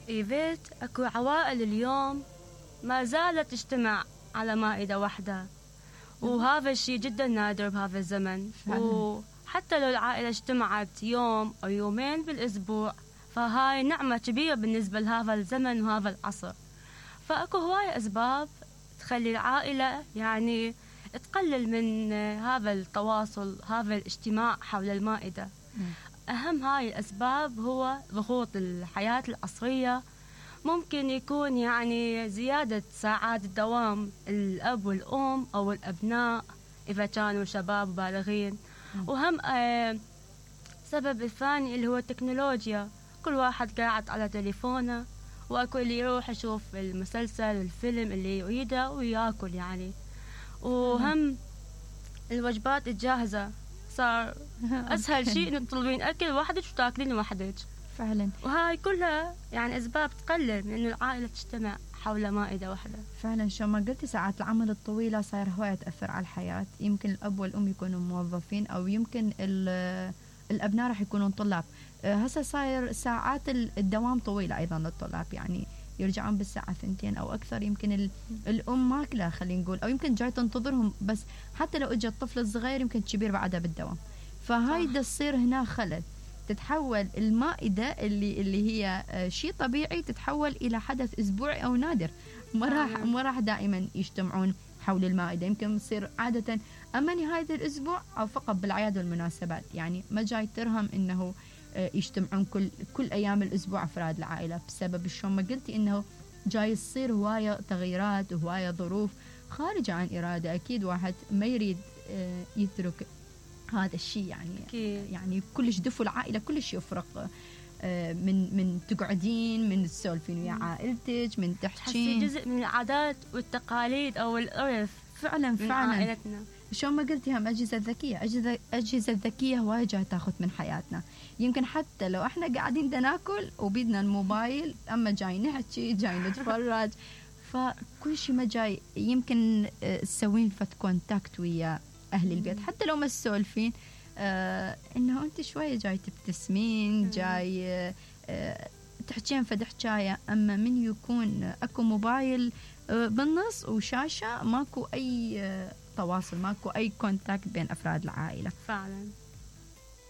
إيفيت أكو عوائل اليوم ما زالت تجتمع على مائدة واحدة، وهذا الشيء جدا نادر بهذا الزمن. وحتى لو العائلة اجتمعت يوم أو يومين بالأسبوع فهاي نعمة كبيرة بالنسبة لهذا الزمن وهذا العصر. فأكو هواية أسباب تخلي العائلة يعني تقلل من هذا التواصل، هذا الاجتماع حول المائدة. أهم هاي الأسباب هو ضغوط الحياة العصرية، ممكن يكون يعني زيادة ساعات الدوام الأب والأم أو الأبناء إذا كانوا شباب بالغين. وهم سبب الثاني اللي هو التكنولوجيا، كل واحد قاعد على تليفونه، وأكو اللي يروح يشوف المسلسل الفيلم اللي يريده ويأكل يعني. وهم الوجبات الجاهزة صار أسهل شيء إنك تطلبين أكل وحدك وتاكلين وحدك فعلا. وهاي كلها يعني أسباب تقلل من إنه العائلة تجتمع حول مائدة واحدة. فعلا شو ما قلتي ساعات العمل الطويلة صاير هواية تأثر على الحياة. يمكن الأب والأم يكونوا موظفين، أو يمكن الأبناء راح يكونون طلاب. هسه صاير ساعات الدوام طويلة أيضا للطلاب، يعني يرجعون بالساعة 2 أو أكثر. يمكن الأم ماكلة خلينا نقول، أو يمكن جاي تنتظرهم، بس حتى لو إجا الطفل الصغير يمكن كبير بعدها بالدوام. فهاي تصير هنا خلل، تتحول المائدة اللي هي شيء طبيعي تتحول إلى حدث أسبوعي أو نادر. ما راح دائما يجتمعون حول المائدة، يمكن تصير عادة أما نهاية الأسبوع أو فقط بالأعياد والمناسبات. يعني ما جاي ترهم إنه يجتمعون كل أيام الأسبوع أفراد العائلة، بسبب شو ما قلتي إنه جاي يصير هواية تغييرات وهواية ظروف خارجة عن إرادة. أكيد واحد ما يريد يترك هذا الشيء يعني كلش دفو العائلة كلش يفرق من تقعدين، من تسولفين ويا عائلتك، من تحكين، جزء من العادات والتقاليد أو العرف. فعلا من عائلتنا. شو ما قلتي هم أجهزة ذكية، أجهزة ذكية هواي جاي تاخذ من حياتنا. يمكن حتى لو احنا قاعدين ناكل وبيدنا الموبايل، أما جاي نحكي جاي نتفرج، فكل شيء ما جاي. يمكن تسوين فت كونتاكت ويا أهل البيت حتى لو ما تسولفين، إنه أنت شوية جاي تبتسمين، جاي تحكين فد حكاية. أما من يكون أكو موبايل بالنص وشاشة، ماكو أي تواصل، ماكو أي كونتاكت بين أفراد العائلة. فعلا.